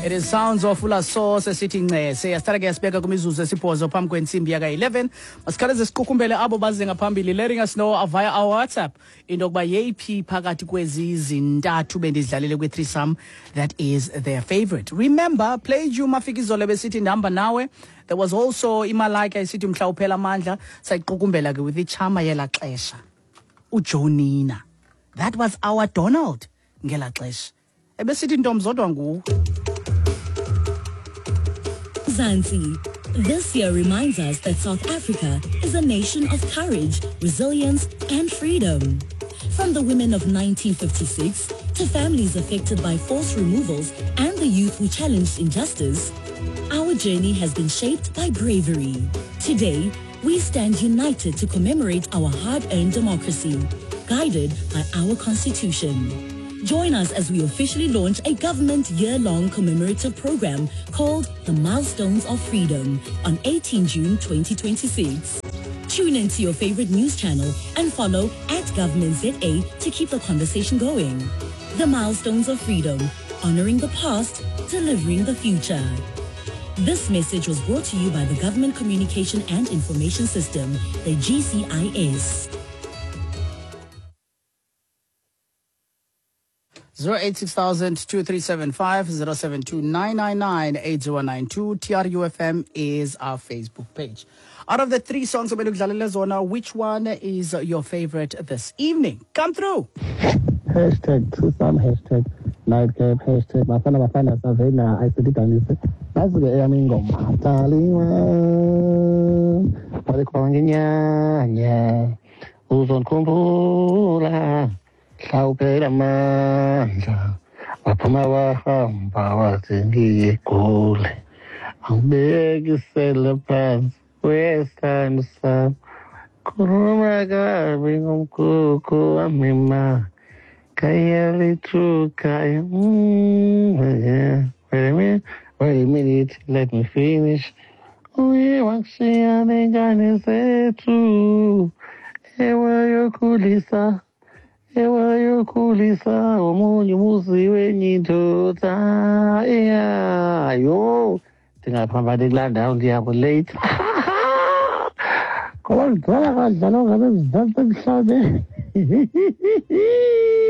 It is sounds of Ulaso sesithi ncese. Yasithatha ke yasibeka kwimizuzu esibhozo phambi kwentsimbi yaka-11. Masikhawuleze siqukumbele abo baze ngaphambili, letting us know via our WhatsApp into yokuba yeyiphi phakathi kwezi zintathu bendizidlalele kwi-threesome that is their favorite. Remember, played you Mafikizolo besithi ndihamba nawe. There was also iMalaika isithi mhla uphela amandla. Sayiqukumbela ke with ichama yela xesha, uJonina. That was our Donald ngela xesha, ebesithi ntombi zodwa nguwe. Mzansi. This year reminds us that South Africa is a nation of courage, resilience, and freedom. From the women of 1956 to families affected by forced removals and the youth who challenged injustice, our journey has been shaped by bravery. Today, we stand united to commemorate our hard-earned democracy, guided by our constitution. Join us as we officially launch a government year-long commemorative program called the Milestones of Freedom on 18 June 2026. Tune in to your favorite news channel and follow @GovernmentZA to keep the conversation going. The Milestones of Freedom, honoring the past, delivering the future. This message was brought to you by the Government Communication and Information System, the GCIS. 086 2375 072 999 8092. TRUFM is our Facebook page. Out of the three songs ebendikudlalele zona, which one is your favorite this evening? Come through. #threesome, #nightcap, #BafanaBafana savena ayisididanise. Nasi ke eyam ingoma: Daliwa walikhona ngenyanya, uzondikhumbula mhla amandla, waphuma wahamba wathi ngiyegule, angibekisele phansi wesithando sami, khuluma kabi ngomkhukhu wami ma khaya. Yeah. Wait a minute, wait a minute, let me finish. Uye wakushiya nengane zethu, ewayokhulisa, ewayokhulisa omunye umuzi wenye indoda. Yeah, yho, ndingaphambani kulaa ndawo, ndiyabo late ngoba ndidlala kadlala ngabe Mzantsi emhlabeni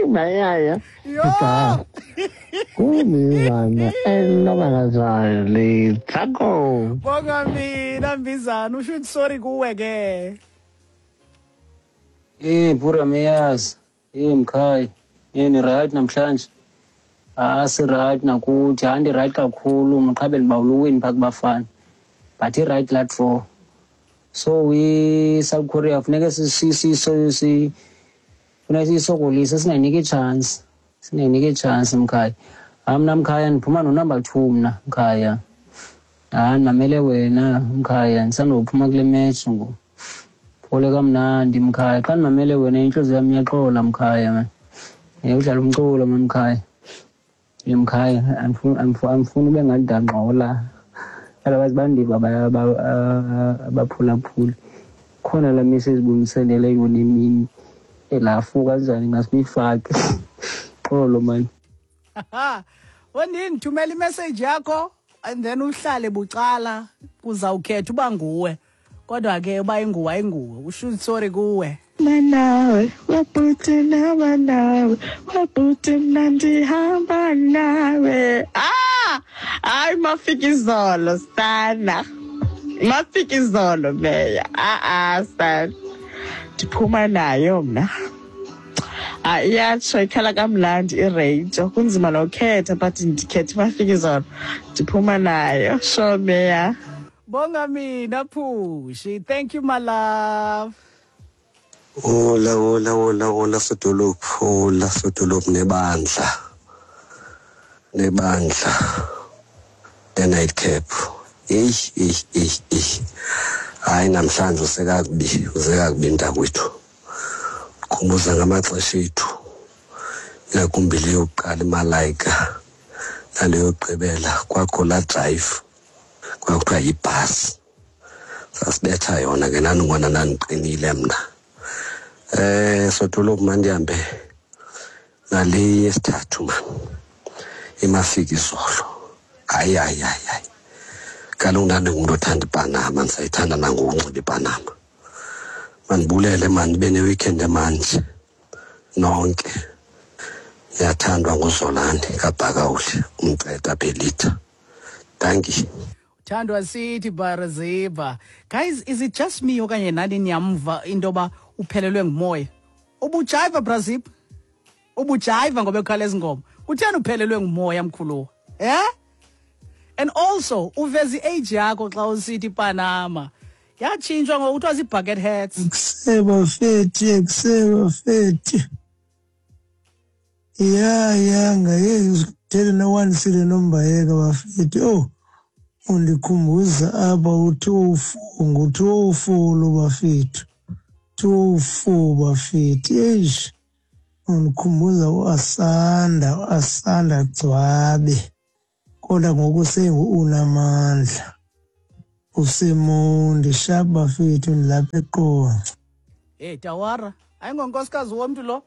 mayaya. Yho! Kumizana enoba kanjani thako. Bonga mina Mbizana, usho ukuthi sorry kuwe ke. Eh, Bura Meyaz, eh mkhaya, eh ni right namhlanje? Ah, si right nakuthi, andi right kakhulu, mqhabe ndibawula uwin phaa kubafana. But i right laa draw. So we South Korea funeke si funeka siyisokolise, singayiniki ichance. Singayiniki ichance mkhaya. Ah, mna mkhaya ndiphuma no number 2 mna mkhaya. Ah, ndimamele wena mkhaya, ndisandophuma kule match ngoku. Phole kamnandi mkhaya, xa ndimamele wena intliziyo yam iyaxola mkhaya man. Udlala umculo man mkhaya. Mkhaya, andifuni ube ngathi ndiyangxola. Otherwise bandiva abaphulaphuli. Khona laa message ubundisendele yona emini, elafu kanjani ngasiyifake. Xolo man. Wendini, thumela imessage yakho and then uhlale bucala, kuzawukhetha uba nguwe. Kodwa ke uba inguwe ayinguwe, usho sorry kuwe. Nawe wabhuti, naba nawe wabhuti, mna ndihamba nawe. Ah, hayi, Mafikizolo sana, Mafikizolo meya. Ah ah sana, ndiphuma nayo mna. Ah, iyatsho ikhala kamnandi ireyijo, kunzima nokhetha but ndikhetha Mafikizolo, ndiphuma nayo. Sure meya. Bonga mina Phushi. Thank you, my love. Hola, hola, hola, hola sodolophu, hola sodolophu nebandla. Nebandla. The nightcap. Eyi, eyi, eyi, eyi. Hayi, namhlanje usekakubi, usekakubi mntakwethu. Khumbuza ngamaxesha ethu. Ingakumbi le yokuqala iMalaika nale yokugqibela, kwakho laa drive kwakuthiwa yibhasi. Sasibetha yona ke naningona ndandiqinile mna. Sodolophu, mandihambe nale yesithathu man. Imafikizolo. Hayi, hayi, hayi, hayi, kaloku ndandingumntu othanda iPanama, ndisayithanda nangokunxiba iPanama. Mandibulele, mani, nibe ne-weekend emanje nonke. Niyathandwa nguZolani kaBhakawuli, umceda Belita. Dankie. Thandwa sithi Baraziba. Guys, is it just me okanye nani niyamva into yoba uphelelwe ngumoya? Ubujayiva, Brazil? Ubujayiva ngoba ekhala ezingoma. Kutheni uphelelwe ngumoya, mkhuluwa? Eh? And also uveza i-age yakho xa usithi Panama. Yatshintshwa ngokuthiwa zii-bucket hats. Kusebafethi, kusebafethi. Ya, ya, ngaye ngithele nowanisile nombayeka bafethi. Oh, undikhumbuza apha u-204, ngu-204 lo bafethu. 204 bafethu. Eish. Undikhumbuza uAsanda, uAsanda Gcwabe. Kodwa ngoku sengu-Unamandla. Usemonti sharp bafethu, ndilapha eQonce. Hey Tawara, ayingonkosikazi womntu lo.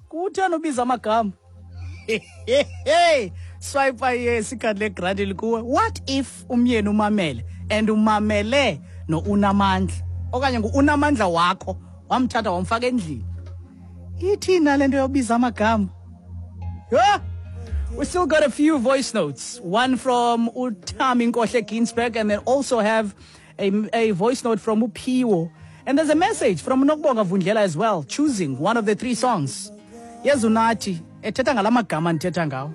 Kutheni ubiza amagama? Hey, swipe yes, ikhadi legrandi likuwe. What if umyeni umamele and umamele no Unamandla okanye ngu-Unamandla wakho wamthatha wamfaka endlini? Ithina le nto yobiza amagama? Yeah. We still got a few voice notes. One from Utami Nkohle Ginsberg, and then also have a voice note from Upiwo. And there's a message from Nokubonga Vundlela as well, choosing one of the three songs. Yezunati, ethetha ngala magama ndithetha ngawo.